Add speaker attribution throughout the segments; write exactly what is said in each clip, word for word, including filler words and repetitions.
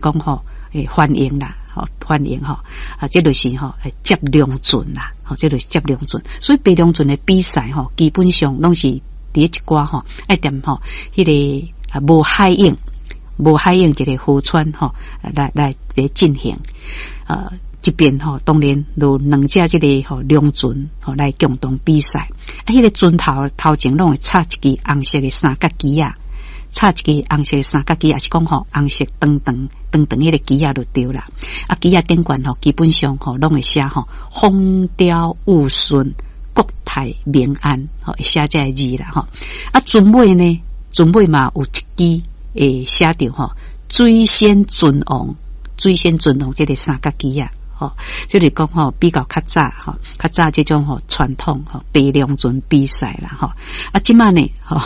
Speaker 1: 講吼，會歡迎啦，吼歡迎吼，啊，這就是吼接龍船啦，吼，這就是接龍船。所以爬龍船的比賽吼，基本上攏是佇一寡吼，愛踮吼，彼个啊無海湧、無海湧一個河川吼，來來來進行。呃，這邊吼，當然有兩隻這个吼龍船吼來共同比賽。啊，彼个船頭頭前攏會插一支紅色的三角旗仔。插一支紅色的三角旗，抑是講吼紅色長長長長彼个旗仔就對啦。啊，旗仔頂懸吼，基本上吼攏會寫吼風調雨順、國泰民安，吼會寫這个字啦吼。啊，船尾呢，船尾嘛有一支會寫著吼水仙尊王、水仙尊王這个三角旗仔。吼，就是講吼比較較早吼，較早這種吼傳統吼爬龍船比賽啦吼。啊，這馬呢，吼，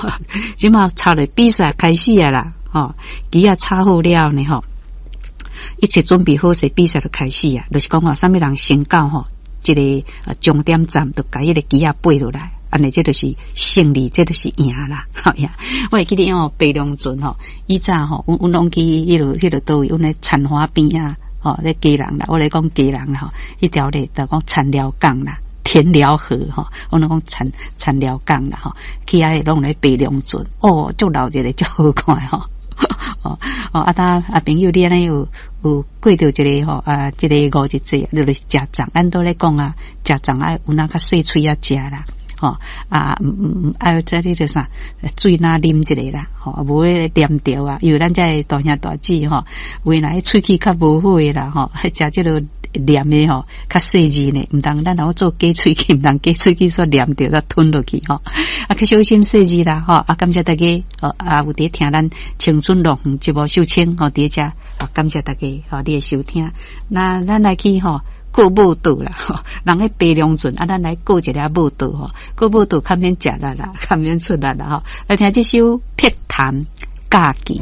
Speaker 1: 這馬插咧比賽開始啊啦，吼，旗仔插好了呢吼，一切準備好勢，比賽就開始啊，就是講吼，啥物人先到吼，這個終點站，就共彼个旗仔爬落來，按呢，這就是勝利，這就是贏啦。吼呀，我會記得哦，爬龍船吼，以前吼，阮阮攏去彼落彼落佗位，阮咧田華邊啊。吼，咧基隆啦，我咧講基隆啦，吼，彼條咧就講田寮港啦，田寮河吼，我攏講田田寮港啦，吼，去遐攏咧爬龍船，哦，足鬧熱的，足好看吼，哦哦，啊，他啊朋友你按呢有有過著一个吼啊，這个五日節，就是食粽，咱都咧講啊，食粽愛有哪較細喙仔食啦。吼啊，毋毋毋，啊，這你著啥水若啉一下啦，吼，無會黏著啊。因為咱這个大兄大姊吼，有的若喙齒較無好的啦，吼，食這个黏的吼，較細膩呢，毋通咱若做假喙齒，毋通假喙齒煞黏著，煞吞落去吼。啊，較小心細膩啦，吼！啊，感謝大家，吼啊，有佇聽咱青春樂園節目秀清吼，佇遮，啊，感謝大家吼，你的收聽。那咱來去吼。過舞蹈啦，吼，人咧爬龍船，啊，咱來過一下舞蹈吼，過舞蹈較免食力啦，較免出力啦，吼。來聽這首《碧潭假期》。